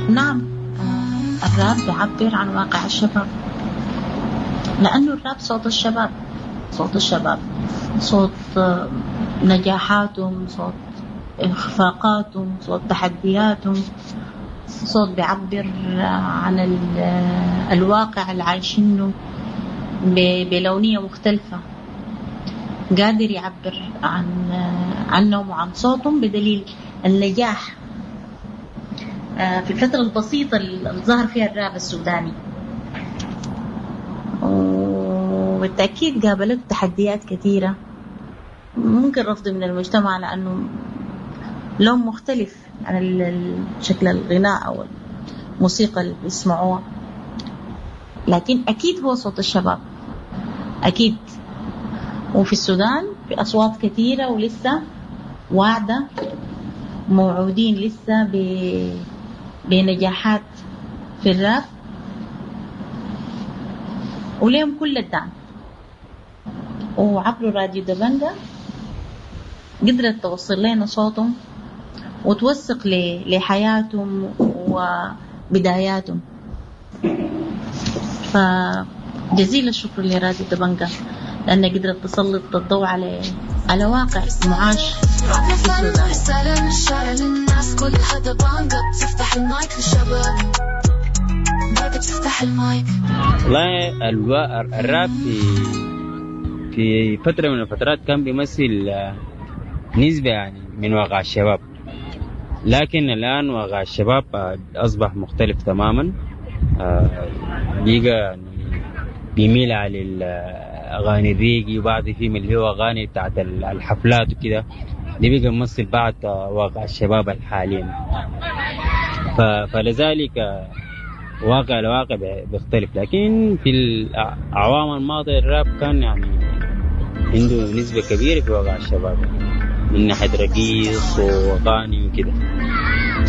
نعم، الراب بعبر عن واقع الشباب لأنو الراب صوت الشباب، صوت الشباب صوت نجاحاتهم، صوت إخفاقاتهم، صوت تحدياتهم، صوت بعبر عن الواقع العايشينو بلونية مختلفة، قادر يعبر عنهم وعن صوتهم بدليل النجاح في الفترة البسيطة اللي ظهر فيها الراب السوداني. وبالتأكيد قابلت تحديات كثيرة، ممكن رفض من المجتمع لأنه لون مختلف عن شكل الغناء أو الموسيقى اللي بيسمعوها، لكن أكيد هو صوت الشباب أكيد. وفي السودان في أصوات كثيرة ولسه واعدة، موعودين لسه بنجاحات في الراب، وليهم كل الدعم. وعبر راديو دبنجة قدرت توصل لنا صوتهم وتوثق لحياتهم وبداياتهم. فجزيل الشكر لراديو دبنجة لأنها قدرت تسلط الضوء على واقع معاش في السودان. رسالة من الشارع للناس كلها دبنجة بتفتح المايك للشباب، دبنجة بتفتح المايك. والله الراب في فترة من الفترات كان بيمثل نسبة من واقع الشباب، لكن الآن واقع الشباب أصبح مختلف تماما. بيجا بيميل على الأغاني الريقي، وبعد فيهم اللي هو أغاني بتاعت الحفلات وكده، دي بيجا بيمثل بعض واقع الشباب الحاليا. فلذلك واقع الواقع بيختلف. لكن في الأعوام الماضية الراب كان عنده نسبة كبيرة في واقع الشباب من ناحية رقيص وأغاني وكده.